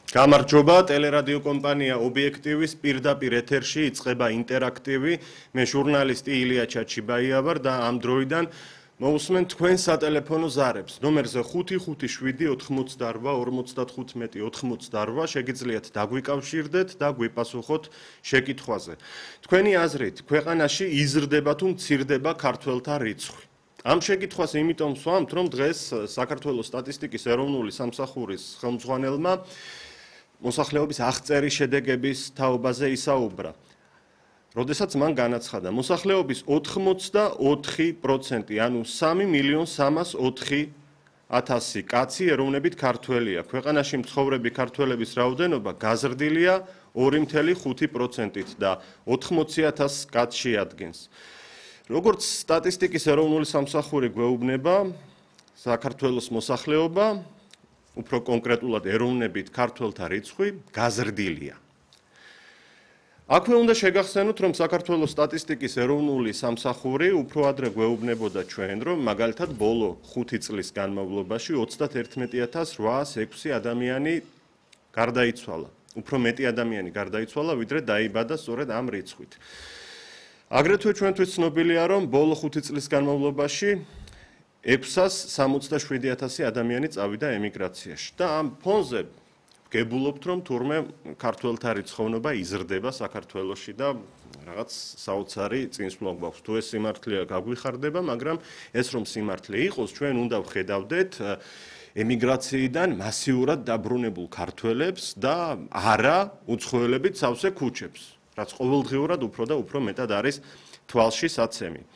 გამარჯობა, ტელერადიო კომპანია ობიექტივის პირდაპირ ეთერში იწყება ინტერაქტივი. მე ჟურნალისტი ილია ჩაჩიბაია ვარ და ამ დროიდან მოусმენთ თქვენ სატელეფონო ზარებს. ნომერზე 557-58-95-88 შეგიძლიათ დაგვიკავშირდეთ და გვიპასუხოთ შეკითხვაზე. თქვენი აზრით, ქვეყანაში იზრდება თუ მცირდება ქართველთა რიცხვი? ამ შეკითხვას იმიტომ ვსვამთ, რომ დღეს საქართველოს სტატისტიკის ეროვნული სამსახურის ხელმძღვანელმა მოსახლეობის აღწერის შედეგების თაობაზე ისაუბრა. როდესაც მან განაცხადა, მოსახლეობის 84%, ანუ 3.304.000 კაცი ეროვნებით ქართველია. ქვეყანაში მცხოვრები ქართველების რაოდენობა გაზრდილია 2.5%-ით და 80,000 კაცს შეადგენს. როგორც სტატისტიკის ეროვნული სამსახური გვეუბნება, საქართველოს მოსახლეობა, უფრო კონკრეტულად ეროვნებით ქართველთა რიცხვი გაზრდილია. აქვე უნდა შეგახსენოთ, რომ საქართველოს სტატისტიკის ეროვნული სამსახური უფრო ადრე გვეუბნებოდა ჩვენ, რომ მაგალითად ბოლო 5 წლის განმავლობაში 31,806 ადამიანი გარდაიცვალა. უფრო მეტი ადამიანი გარდაიცვალა, ვიდრე დაიბადა სწორედ ამ რიცხვით. აგრეთვე ჩვენთვის ცნობილია, რომ ბოლო 5 წლის განმავლობაში 667,000 ადამიანი წავიდა ემიგრაციაში და ამ ფონზე გებულობთ, რომ თურმე ქართველთა რიცხოვნობა იზრდება საქართველოში და რაღაც საოცარი წინსვლა გვაქვს. თუ ეს სიმართლეა, გაგვიხარდება, მაგრამ ეს რომ სიმართლე იყოს, ჩვენ უნდა ვხედავდეთ ემიგრაციიდან მასიურად დაბრუნებულ ქართველებს და არა უცხოელებით სავსე ქუჩებს, რაც ყოველდღიურად უფრო და უფრო მეტად არის თვალში საცემი.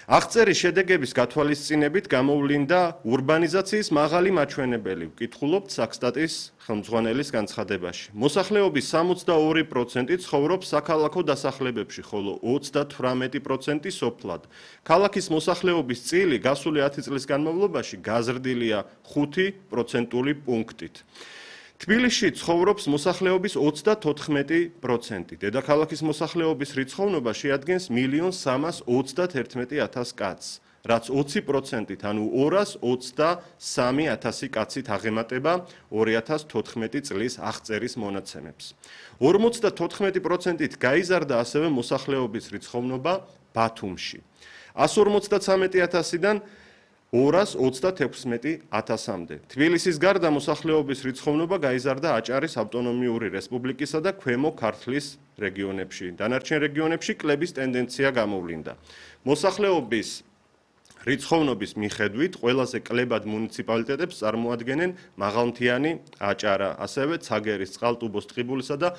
აღწერის შედეგების გათვალისწინებით გამოვლინდა ურბანიზაციის მაღალი მაჩვენებელი, ვკითხულობთ საქსტატის ხელმძღვანელის განცხადებაში. მოსახლეობის 62% ცხოვრობს საქალაქო დასახლებებში, ხოლო 38% სოფლად. ქალაქის მოსახლეობის წილი გასული 10 წლის განმავლობაში გაზრდილია 5%-ული პუნქტით. თბილისში ცხოვრობს მოსახლეობის 34%. დედაქალაქის მოსახლეობის რიცხოვნობა შეადგენს 1,321,000 კაცს, რაც 20%-ით, ანუ 223,000 კაცით აღემატება 2014 წლის აღწერის მონაცემებს. 54%-ით გაიზარდა ასევე მოსახლეობის რიცხოვნობა ბათუმში. 153,000-დან 226,000-მდე. თბილისის გარდა მოსახლეობის რიცხოვნობა გაიზარდა აჭარის ავტონომიური რესპუბლიკისა და ქვემო ქართლის რეგიონებში. დანარჩენ რეგიონებში კლების ტენდენცია გამოვლინდა. მოსახლეობის რიცხოვნობის მიხედვით ყველაზე კლებად მუნიციპალიტეტებს წარმოადგენენ მაღალმთიანი აჭარა, ასევე ცაგერის, წყალტუბოს, ტყიბულისა და